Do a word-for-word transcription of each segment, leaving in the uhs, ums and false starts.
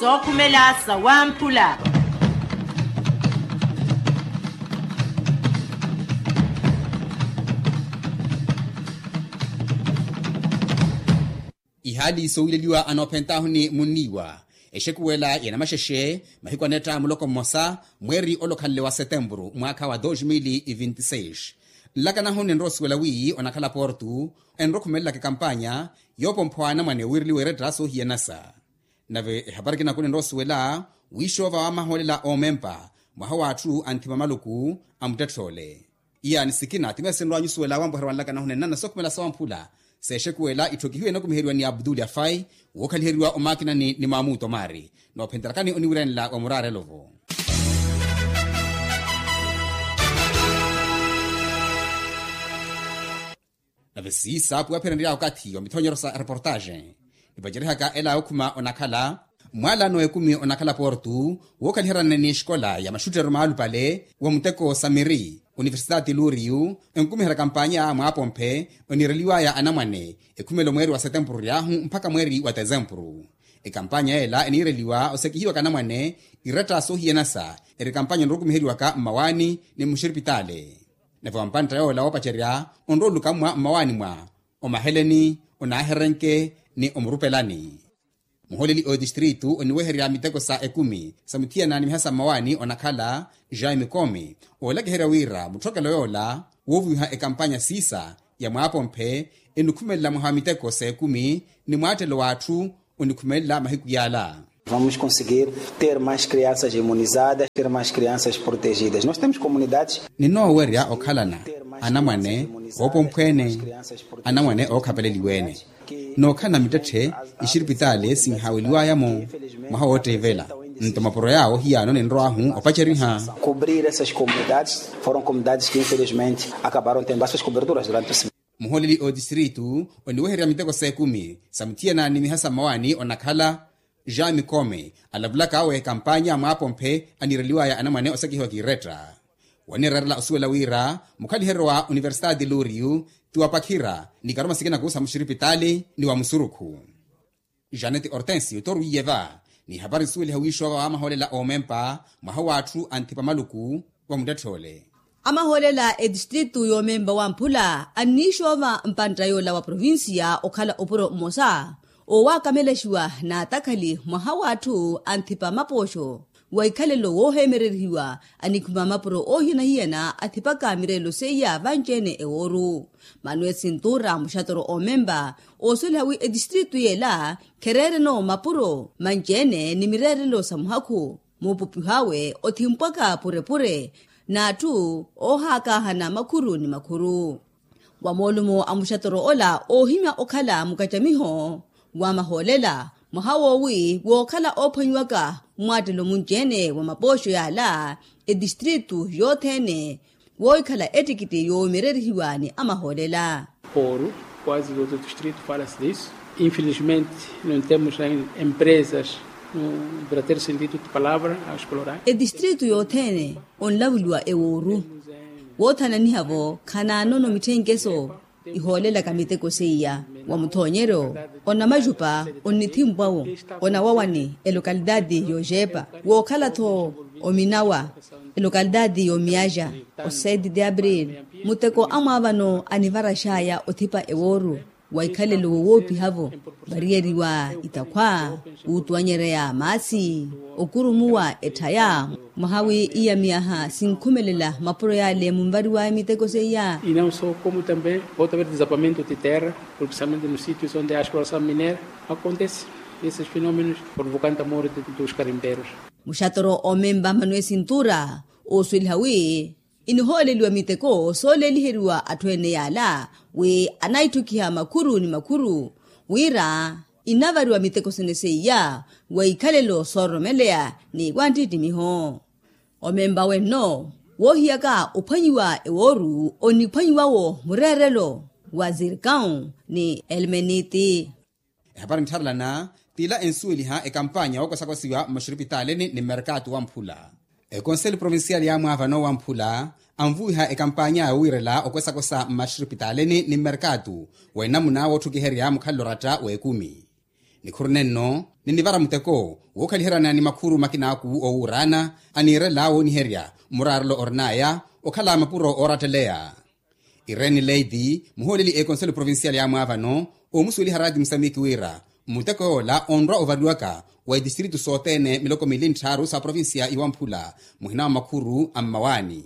Sookhumela sawamphula. Ihaali soowileliwa anoophentaahu ni munniiwa exekuwela ya namaxexe mahiku anetta muloko mmosa mweeri olokhanle wa setempuru mwaakha wa dos mil e vinte e seis. Nlakanahu ninrowa osuwela wi onakhala portu enrokhumelelaka ekampanya yoopompha wa anamwane wiireliwa eretta soohiyanasa. Nave ehapari kinaku ninrowa osuwela wiixoova wamahoolela oomempa mwaha w'atthu anthima maluku a muttetth'ole. Iyaani sikina ti meesinrwa anyusuwela wampoherwa nlakanahu nennana sookhumela sawamphula. Seexekuwela itthu ekihiwa enokumiheriwa ni abduli afai wookhaliheriwa omaakinani ni maamuto maari. Noophenterakani oniwiranela wa muraarelo-vo. Nave siisa puwaphererya okathi wa mithonyero sa reportaxe nipacerihaka ela okhuma onakhala mwaalano ekumi onakhala portu wookhaliheryana ni exikola ya maxuttero maalupale wa muteko samiri universitati luriyu enkumiherya kampanya mwaapomphe oniireliwaya anamwane ekhumelo mweeri wa setempuru ryaahu mpakha mweeri wa tesempuru. Ekampanya ela eniireliwa osekihiwaka anamwane iretta soohiyanasa eri kampanya onrokumiheriwaka mmawaani ni mmuxiripitaale. Nave wampantta yoola woopacerya onrooluka mmwa mmawaani mwa omaheleni onaaherenke ni omurupelani. Muhooleli ootistritu oniweherya miteko sa ekumi sa muthiyana ni miha sa mmawaani onakhala jean mikomi oolakiherya wira mutthokelo yoola wooviwiha ekampanya siisa ya mwaapomphe enikhumelela mwaha wa miteko sa ekumi ni mwaattelo w'atthu onikhumelela mahiku yaala. Vamos conseguir ter mais crianças imunizadas, ter mais crianças protegidas. Nós temos comunidades. Ninoowerya okhalana anamwane oopomphweene anamwane ookhapeleliweene nookhalana mittetthe ixiripitaale sinhaaweliwaya-mo mwaha wootteivela. Nto mapuro yaawo hiyaano ninrowaahu opaceriha. Cobrir essas comunidades foram comunidades que infelizmente acabaram tendo essas coberturas durante o semestre. Muhooleli ootistritu oniweherya miteko sa ekumi sa muthiyana ni miha sa mmawaani onakhala jean mikomi alavulaka awe kampanya mwaapomphe aniireliwaya anamwane osekihiwa kiiretta. Wanireerela osuwela wira mukhaliheryo wa universitati luriyu ti wapakhira ni karuma sikinaku sa muxiripitaali ni wa musurukhu. Janete hortensio torwiye va ni hapari nsuweliha wiixoova wamahoolela oomempa mwaha w'atthu anthipa maluku wa muttetth'ole. Amahoolela etistritu yoomempa wamphula anniixoova mpantta yoola wa provincia okhala opuro mmosa owakamelexiwa n'atakhali mwaha w'atthu anthipa mapooxo wa ikhalelo wooheemererihiwa anikhuma mapuro oohiyana-hiyana athipaka mireelo seiya vanci-ene ewooru. Manuel sintura muxatoro oomempa oosweliha wi etistritu yeela khereereno mapuro manci-ene ni mireerelo sa muhakhu muupupiho awe othimpwaka purepure n'atthu oohaakaahana makhuru ni makhuru. Wa moolumo a muxatoro ola oohimya okhala mukacamiho wa mahoolela mwaha woowi wookhala oophwanyiwaka mmwaattelo munci-ene wa mapooxo yaala etistritu yothene woohikhala ettikiti yoomererihiwa ni amahoolela. Oru quase todo o distrito fala-se disso. Infelizmente não temos empresas no verdadeiro sentido de palavra a explorar. Etistritu yothene onlavuliwa ewooru woothananiha-vo khanaanono mitthenkeso ihoolelaka miteko seiya wa muthoonyeryo onamajupa onnithimpwa-wo onawawani elokalitaati y'oxeepa wookhala-tho ominawa elokalitaati y'omiyaxa o sete de abril muteko amwaavano anivaraxaya othipa ewooru wa ikhalelo wowoopiha-vo variyeriwa itakhwa wuutuwanyereya maasi okurumuwa etthaya mwaha wi iyamiyaha sinkhumelela mapuro yale munvariwaya miteko seiya. E não só como também pode haver desabamento de terra principalmente nos sítios onde a exploração mineira acontece esses fenômenos provocando a morte dos garimpeiros. Muxatoro oomempa manuel sintura oosweliha wi inihooleliwa miteko sooleeliheriwa atthu ene yaala wi anaitthukhiha makhuru ni makhuru wira inavariwa miteko sene seiya wa ikhalelo soororomeleya ni wanttittimiho. Omempa wenno woohiyaka ophwanyiwa ewooru oniphwanyiwa-wo mureerelo wa zirkau ni elmeniti. Ehapari nttharelana t'ila ensuweliha ekampanya wookosakosa mmaxiripitaalini ni mmerkaatu wamphula. Ekonseli provincial yaamwaavano wamphula anvuwiha ekampanya yowiirela okosakosa mmaxiripitaalini ni mmerkaatu wa enamuna wootthukiherya mukhalelo oratta w'ekumi. Nikhuru nenno ninivara muteko wookhaliheryana ni makhuru makinaaku owuuraana aniirela wooniherya muraarelo orin'aya okhala mapuro ooratteleya. Irene leiti muhooleli ekonselo provincial ya mwaavano oomusuweliha raati musamiki wira muteko yoola onrwa ovariwaka wa itistritu sothene miloko mili ntthaaru sa provincia iwamphula muhina wa makhuru a mmawaani.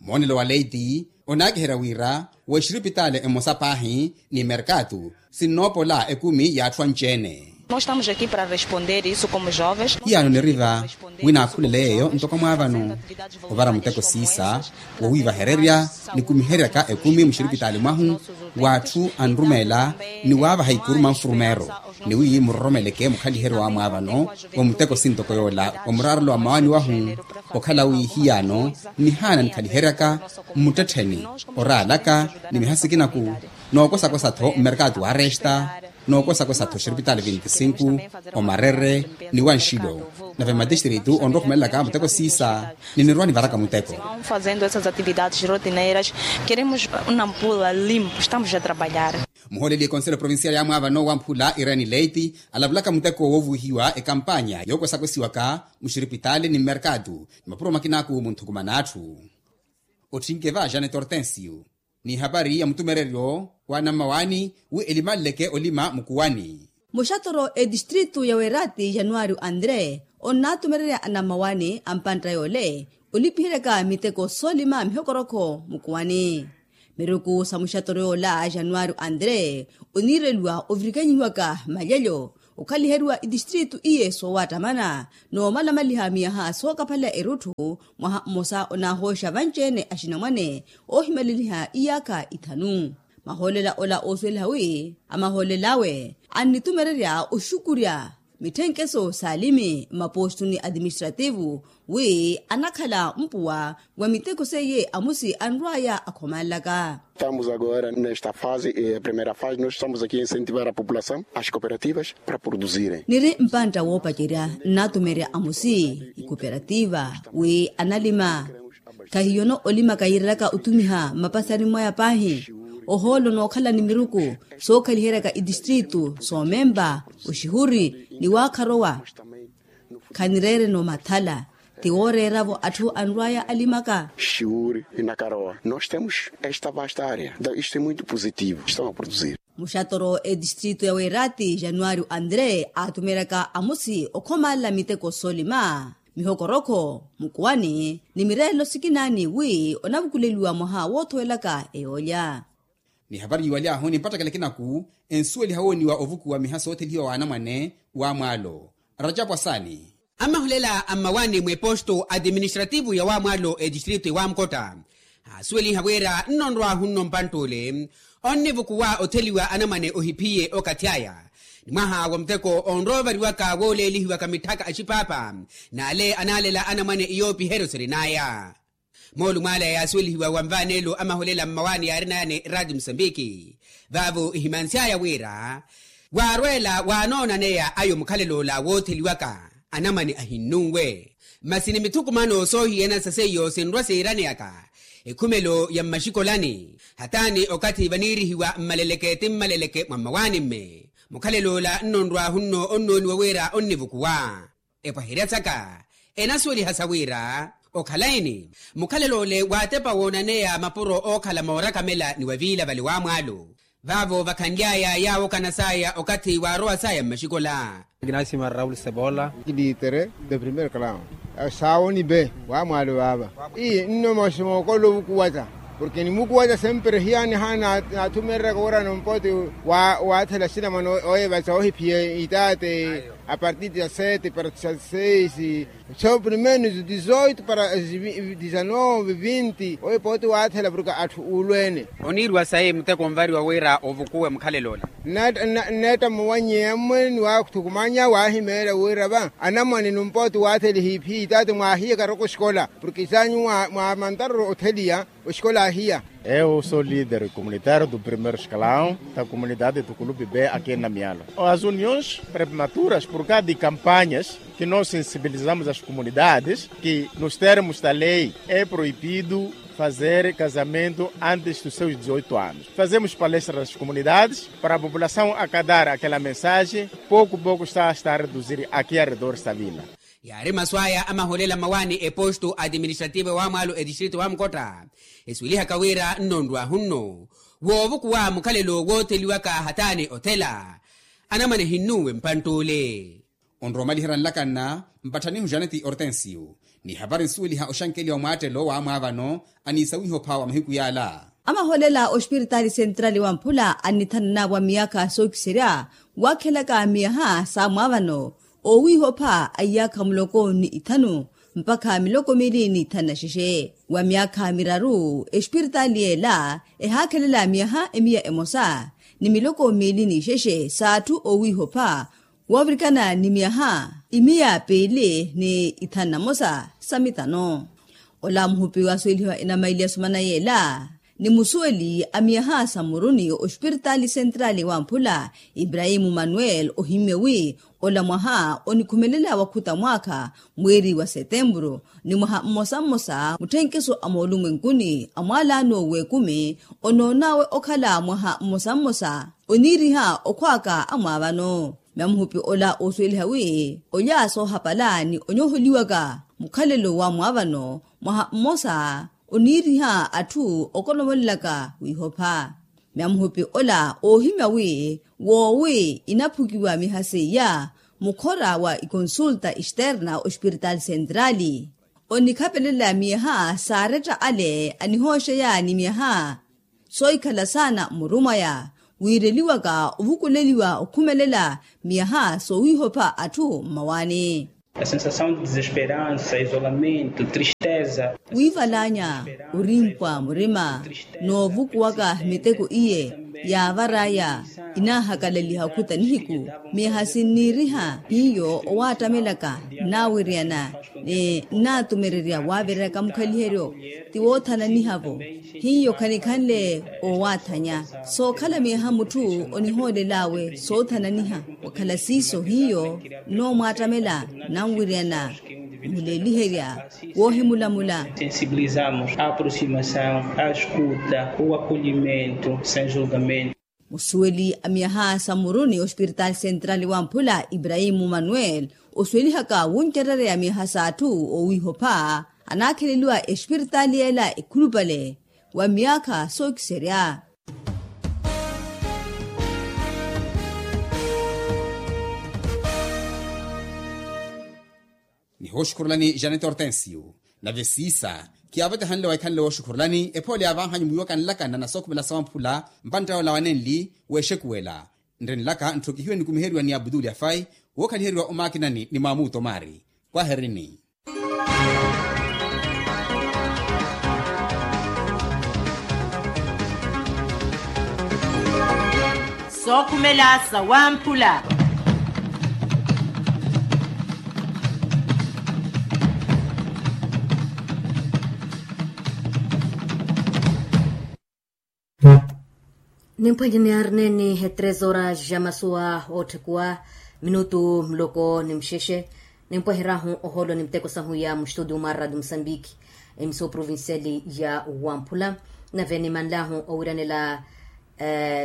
Moonelo wa leiti onaakiherya wira wa exiripitaali emosa paahi ni merkatu sinnoopola ekumi y'atthu anci-ene. Nós estamos aqui para responder isso como jovens. Hiyaano niri va wi naakhulele yeeyo ntoko mwaavano ovara muteko siisa wowiivahererya nikumiheryaka ekumi muxiripitaali mwahu w'atthu anrumeela ni waavaha ikuru manfurumeero ni wi muroromeleke mukhaliheryo wa mwaavano wa muteko sintoko yoola wa muraarelo wa mmawaani wahu. Okhala wi hiyaano nihaana nikhaliheryaka mmuttettheni oraalaka ni miha sikinaku nookosakosa-tho mmerkatu wa resta nookosakosa-tho xiripitaali vinti sinku omarere ni wanxilo. Nave mmatistritu onrowa okhumelelaka muteko siisa ninirwa nivaraka muteko. Fazendo essas atividades rotineiras queremos nampula limpo estamos a trabalhar. Muhooleli ekonselo provincial ya mwaavano wamphula irene leiti alavulaka muteko woovuhiwa ekampanya yookwesakosiwaka muxiripitaali ni mmerkatu ni mapuro makinaku munthukumana atthu. Otthinke va janet hortensio ni ehapari ya mutumereryo wa anammawaani wi elimaleleke olima mukuwani. Muxatoro etistritu ya weerati januwari andre onnatumererya anammawaani a mpantta yoole olipiheryaka miteko soolima mihokorokho mukuwani. Miruku sa muxatoro yoola januwari andre oniireliwa ovirikanyihiwaka malyelyo okhaliheriwa itistritu iye soowattamana noomalamaliha miyaha sookaphalela erutthu. Mwaha mmosa onahooxa vanci-ene axinamwane oohimaleliha iyaakha ithanu. Mahoolela ola oosuweliha wi amahoolela awe annitumererya oxukurya mitthenkeso s'alimi mmapostu ni atiministrativu wi anakhala mpuwa wa miteko seiye amusi anrw'aya akhomalelaka. Estamos agora nesta fase primeira fase nós estamos aqui a incentivar a população as cooperativas para produzirem. Niri mpantta woopacerya nnatumerya amusi ikooperativa wi analima. Khahiyono olimaka yiirelaka otumiha mmapasani mwaya paahi ohoolo nookhala ni miruku sookhaliheryaka itistritu soomempa oxihuri ni waakharowa. Khanireereno mathala ti wooreera-vo atthu anrw'aya alimaka. Xiwuri inakarowa nós temos esta vasta área então isto é muito positivo estão a produzir. Muxatoro etistritu ya weerati januwari andre aatumeryaka amusi okhomalela miteko soolima mihokorokho mukuwani ni mireelo sikinaani wi onavukuleliwa mwaha woothowelaka eyoolya. Ni ehapari yiiwaly'ahu ni mpattakela ekinaku ensuweliha wooniwa ovukuwa miha soothelihiwa w'anamwane w'amwaalo. Rajapwa saani. Amahulela a mmawaani mweposto atiministrativu ya wamwaalo etistritu ewamkotta aasuweliha wira nno nrw'ahunno mpantt'ule onnivukuwa otheliwa anamwane ohiphiye okathi aya ni mwaha wa muteko onroovariwaka wooleelihiwaka mitthaka axipaapa n'ale anaalela anamwane iyoopiheryo sirin'aya. Moolumo ale yaasuwelihiwa wa nvaanelo amaholela mmawaani yaarin'aya ni raati musambiki vaavo ihimansy'aya wira waarweela waanoonaneya ayo mukhalel'ola wootheliwaka anamwane ahinnunwe. Masi ni mithukumano soohiyana sa seiyo sinrwa siiraneyaka ekhumelo ya mmaxikolani hataani okathi vaniirihiwa mmaleleke ti mmaleleke mwa mmawaani-mme mukhalel'ola nno nrw'ahunno onnooniwa wira onnivukuwa. Epwaherya saka enasuweliha sa wira okhalayi-ni mukhalel'ole waatepa woonaneya mapuro ookhala moorakamela ni waviila vale wamwaalo vaavo vakhanly'aya yaawokana saya okathi waarowa saya mmaxikola. Ignacio marraul sebola. Litere de primeiro clown. Saawoni be wamwaalo vaava. Ii nno masi mookolola ovukuwata porke nimukuwata sempre hiyaani haana naathumereraka wira nompoti waathela sinamana oyevatsa ohiphiya itaate. A partir dia sete para dia seis so primeiros dezoito para dezenove vinti oyo pooti waathela porke atthu uulweene. Oniiriwa sayi muteko onvariwa wira ovukuwe mukhalel'ola. Nneetta mowannyeya mmwe ni waathukumanya waahimeerya wira va anamwane numpooti waathela ehiiphi itaati mwaahiyaka roko oxikola porke isaanyu mwaamantaroro otheliya. Oxikola ahiya. Eu sou líder comunitário do primeiro escalão da comunidade do clube b aqui em namialo. As uniões prepmaturas por causa de campanhas que nós sensibilizamos as comunidades que nos termos da lei é proibido Fazer casamento antes dos seus dezoito anos. Fazemos palestra nas comunidades para a população acatar aquela mensagem. Pouco pouco está a reduzir aqui a redor savila. Yaari masu aya a maholela mawaani eposto administrativo wa mwaalo edistrito wa mukotta, eswilihaka wira nnonrwahu nno woovukuwa mukhalelo wootheliwaka hathaani othela. Anamwane hinnuwe mpantt'ule. Onrowa omaliherya nlakanna mpatthanihu janeti ortensio, ni hapari nsuweliha oxankeliwa mwaattelo wa mwaavano aniisa wiihopha wa mahiku yaala. Amaholela ospiritaali sentrali wa mphula annithananavo a miyaakha sookiserya, waakhelaka miyaha sa mwaavano oowiihopha a iyaakha muloko ni ithanu mpakha miloko miili ni ithanu na xexe. Wa miyaakha miraru espiritaali yeela ehaakhelela miyaha emiya emosa ni miloko miili ni xexe s'atthu oowiihopha woovirikana ni miyaha imiya piili ni ithanu na mosa sa mitano. Ola muhupi waasuwelihiwa enamaili ya sumana yeela ni musuweli a miyaha sa mmuruni ospiritaali sentrali wa mphula iprahimu manuel ohimmye wi ola mwaha onikhumelela wakhuta mwaakha mweeri wa setempuru ni mwaha mmosa mmosa mutthenkiso a moolumwenkuni a mwaalaano w'ekumi onoon'awe okhala mwaha mmosa mmosa oniiriha okhwaaka a mwaavano. Myamuhupi ola oosuweliha wi olya soohapala ni onyooholiwaka mukhalelo wa mwaavano mwaha mmosa oniiriha atthu okolomolelaka wiihopha. Myamuhupi ola oohimya wi woowi inaphukiwa miyaha seiya mukhora wa ikonsulta externa ospiritaali sentrali onikhapelela miyaha saaretta ale anihooxeya ni miyaha soohikhala saana mmuru mwaya wiireliwaka ovukuleliwa okhumelela miyaha soowiihopha atthu mmawaani. A sensasaw de desesperansa isolamento tristeza. Wiivalaanya orimpwa murima noovukuwaka miteko iye yaavar'aya inaahakalaliha okhuta nihiku. Miyaha sinniiriha hiyo owaattamelaka nnaawiryana ni nnaatumererya waavireraka mukhaliheryo ti woothananiha-vo. Hiyo khanikhanle owaathanya sookhala miyaha mutthu onihoolel'awe soothananiha wakhala siiso hiyo nnoomwaattamela nnanwiryana muleeliherya woohimulamula. Sensibilizamos a aproximasaw a eskuta o akolimento sen julgamento. Musuweli a miyaha sa mmuruni ospiritaali sentrali wa mphula iprahimu manuel osuwelihaka wuncerereya miyaha s'atthu oowiihopha anaakheleliwa espiritaali yeela ekhulupale wa miyaakha sookiserya. Nihooxukhurulani janete ortensio nave siisa khiyaavetehanle waikhanle wooxukhurulani ephoole yaavaahanyu mwiiwaka nlaka nnana sookhumela sa wamphula mpantta yoola wanenli weexekuwela. Nri nlaka ntthokihiwe nikumiheriwa ni abutuli afai wookhaliheriwa omaakinani ni maamuto maari. Kwaherini. Sookhumela sa wamphula. Nimpwehe niyaari neeni etres horas ja masuwa ootthekuwa minutu muloko ni muxexe. Nimpweheryahu ohoolo ni miteko sahu ya muxitudio mwa radio musambiki, emisoo provinciali ya wamphula. Nave nimanlyahu owiranela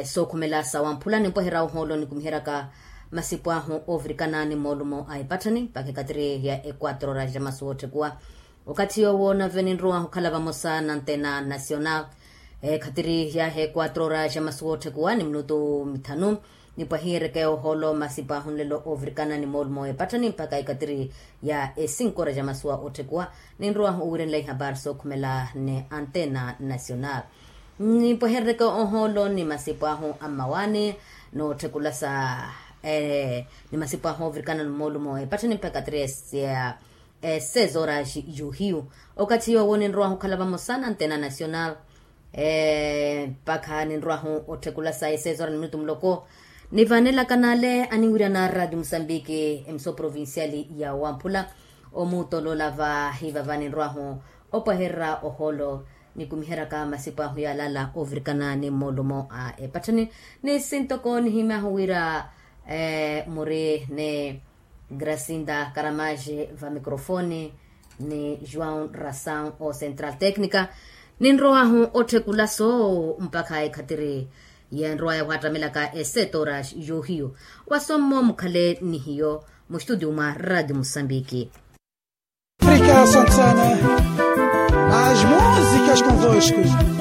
sookhumela sa wamphula nimpweherya ohoolo nikumiheryaka masipu ahu oovirikana ni moolumo a epatthani mpakha ekatiri ya equatro horas ja masuwa ootthekuwa. Okathi yoowo nave ninrowahu okhala vamosa na antena nacional ekatiri ya equatro horas ja masuwa ootthekuwa ni minutu mithanu. Nipwahiyeryeke ohoolo masipu ahu nlelo oovirikana ni moolumo a epatthani mpakha ekatiri ya esinko horas ja masuwa ootthekuwa. Ninrowahu owiranela ihapari sookhumela ni antena nacional. Nipwehereryeke ohoolo ni masipu ahu a mmawaani nootthekulasa ni masipu ahu oovirikana ni moolumo a epatthani mpakha ekatiri ya seis horas yuhiyu. Okathi yoowo ninrowahu okhala vamosa na antena nacional mpakha ninrowahu ootthekulasa e seis horas ni minutu muloko. Nivanelaka n'ale aniwirya na radio musambiki emisoo provinciali ya wamphula. Omuutoloola vahivava ninrowahu opwehererya ohoolo nikumiheryaka masipu ahu yaalala oovirikana ni moolumo a epatthani. Ni sintoko nihimyahu wira muri ni gracinda karamaje va microfoni ni joão rasaw o central tecnica. Ninrowahu otthekula soowo mpakha ekhatiri yenrowaya wattamelaka esetora yoohiyo. Wasommo mukhale ni hiyo mustudio mwa radio musambiki. Afrika santana. As músicas convosco.